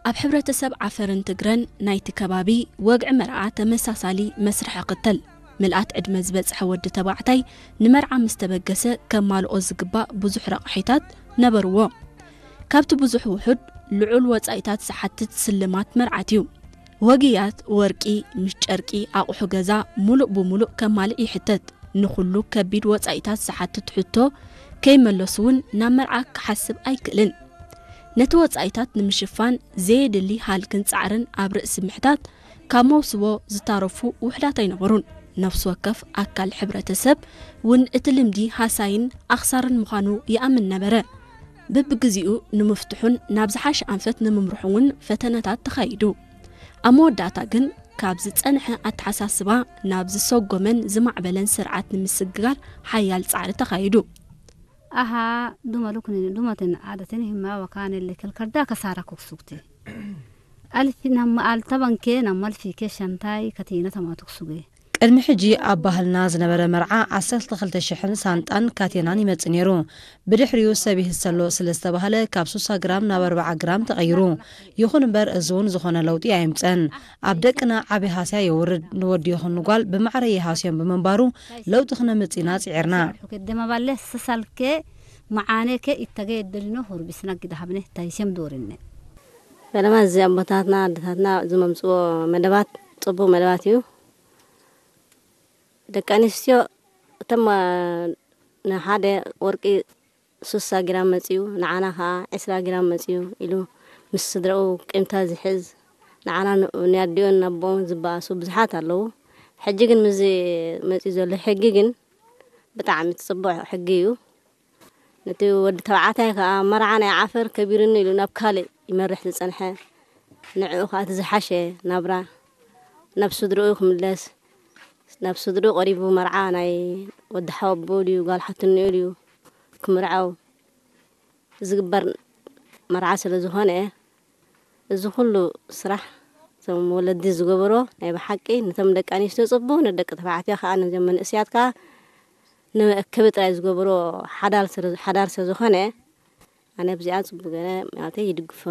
ኣብ ሕብረተሰብ ዓፈርን ትግረን ናይቲ ከባቢ ወግዒ መርዓ ተመሳሳሊ መስርሕ ይኽተል። ምልኣት ዕድመ ዝበጽሐ ወዲ ተባዕታይ ንመርዓ ምስ ተበገሰ ከማልኦ ዝግባእ ብዙሕ ረቕሒታት ነበርዎ። ካብቲ ብዙሕ ውሑድ ልዑል ወጻኢታት ዝሓትት ስልማት መርዓት እዩ። ወግያት፣ ወርቂ፣ ምስ ጨርቂ፣ ኣቑሑ ገዛ፣ ሙሉእ ብሙሉእ ከማልእ ይሕተት። ንኹሉ ከቢድ ወጻኢታት ዝሓትት ሕቶ ከይመለሱ እውን ናብ መርዓ ክሓስብ ኣይክእልን። ነቲ ወጻኢታት ንምሽፋን ዘየድሊ ሃልክን ጻዕርን ኣብ ርእሲ ምሕታት ካብ መውስቦ ዝታረፉ ውሕዳት ኣይነበሩን። ነፍሲ ወከፍ ኣካል ሕብረተሰብ እውን እቲ ልምዲ ሃሳይን ኣኽሳርን ምዃኑ ይኣምን ነበረ። በብግዜኡ ንምፍትሑን ናብ ዝሓሸ ኣንፈት ንምምርሑ እውን ፈተነታት ተኻይዱ። ኣብ መወዳእታ ግን ካብ ዝጸንሐ ኣተሓሳስባ ናብ ዝሰጎመን ዝማዕበለን ስርዓት ንምስግጋር ሓያል ጻዕሪ ተኻይዱ። Aha, duma luknin dumatin aadatin himma wakaanille kelkarda kasaara kuksugte. Alfi namma altabanke namma alfike shantai katina tama tuksuge. ቅድሚ ሕጂ ኣብ ባህልና ዝነበረ መርዓ ዓሰርተ ክልተ ሽሕን ሳንጣን ካቴናን ይመጽእ ነይሩ። ብድሕሪኡ ሰብ ይህሰሎ ስለ ዝተባህለ ካብ ሱሳ ግራም ናብ ኣርብዓ ግራም ተቐይሩ። ይኹን እምበር እዚ እውን ዝኾነ ለውጢ ኣየምጸን። ኣብ ደቅና ዓቢ ሃስያ የውርድ። ንወዲ ይኹን ንጓል ብማዕረ ይሃስዮም ብምንባሩ ለውጢ ክነምጽእ ኢና ጽዒርና። Kudde maballe sasalke macaaneke ittage eddelino hurbisna gida habne taysem dorinne. ፈለማ እዚ ኣቦታትና ኣደታትና ዝመምፅዎ መደባት ፅቡቅ መደባት እዩ። ደቂ ኣንስትዮ እቶም ንሓደ ወርቂ ሱሳ ግራም መፅዩ ንዓና ከዓ ዕስራ ግራም መፅዩ ኢሉ ምስ ስድረኡ ቂምታ ዝሕዝ ንዓና ንኣዲኦን ናቦኦን ዝበኣሱ ብዙሓት ኣለዉ። ሕጂ ግን ምስዚ መፅዩ ዘሎ ሕጊ ግን ብጣዕሚ ፅቡቅ ሕጊ እዩ። ነቲ ወዲ ተባዕታይ ከዓ መርዓ ናይ ዓፈር ከቢርኒ ኢሉ ናብ ካልእ ይመርሕ ዝፀንሐ ንዕኡ ከዓ እቲ ዝሓሸ ናብራ ናብ ስድርኡ ክምለስ ናብ ስድርኡ ቀሪቡ መርዓ ናይ ወዲ ሓወቦኡ ድዩ ጓል ሓትንኡ ድዩ ክምርዓው ዝግበር መርዓ ስለ ዝኾነ እዚ ኩሉ ስራሕ እቶም ወለዲ ዝገበሮ ናይ ብሓቂ ነቶም ደቂ ኣንስትዮ ፅቡቅ ንደቂ ተባዕትዮ ከዓ ነዞም መንእስያት ከዓ ንመእከቢ ጥራይ ዝገብሮ ሓዳር ስለ ዝኾነ ኣነ ኣብዚኣ ፅቡቅ ገለ ማለተይ ይድግፎ።